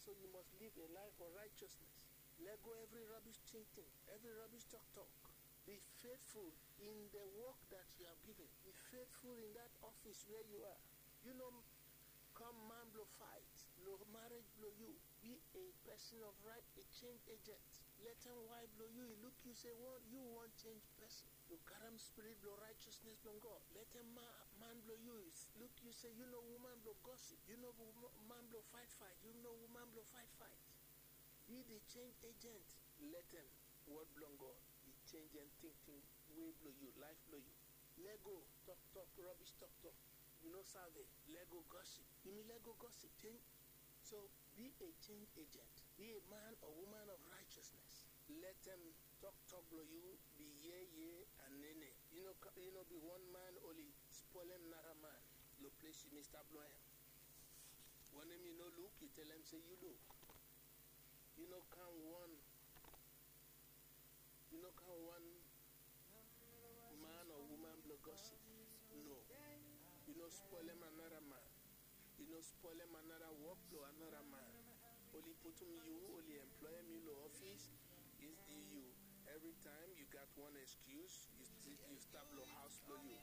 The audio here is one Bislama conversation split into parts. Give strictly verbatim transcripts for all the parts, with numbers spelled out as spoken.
So you must live a life of righteousness. Let go every rubbish thinking, every rubbish talk talk. Be faithful in the work that you have given. Be faithful in that office where you are. You know, come man blow fight, blow marriage blow you. Be a person of right, a change agent. Let them wife blow you. He look you say, want you want change person. Lo karam spirit blo righteousness blo God. Let them ma- man blo you look you say, you know woman blo gossip. You know wo- man blo fight fight. You know woman blo fight fight. Be the change agent. Let them word blo God. He change and thinking way blo you, life blo you. Let go talk talk, rubbish talk talk. You know serve. Let go gossip. You mean let go gossip. Change. So be a change agent. Be a man or woman of righteousness. Let them talk talk blo you be ye ye and nene. You know, you know be one man only spoil him another man. Lo place you mister Bloem. When him you know look, you tell him say you look. You know come one. You know come one man or woman blo gossip. No. You know spoil him another man. You know spoil him another work blo another man. Only put him you, only employ him you lo office. Is you every time you got one excuse. You, you stop lo house blo you.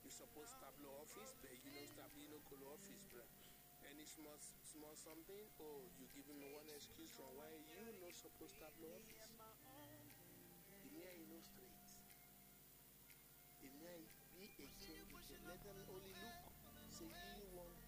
You suppose stop lo office, but you know stop you know go lo office, bro. Any small small something, oh, you give him one excuse from why you no suppose stop lo office. Di mia e no straight. Di mia e be a change. Let them only look. Say you want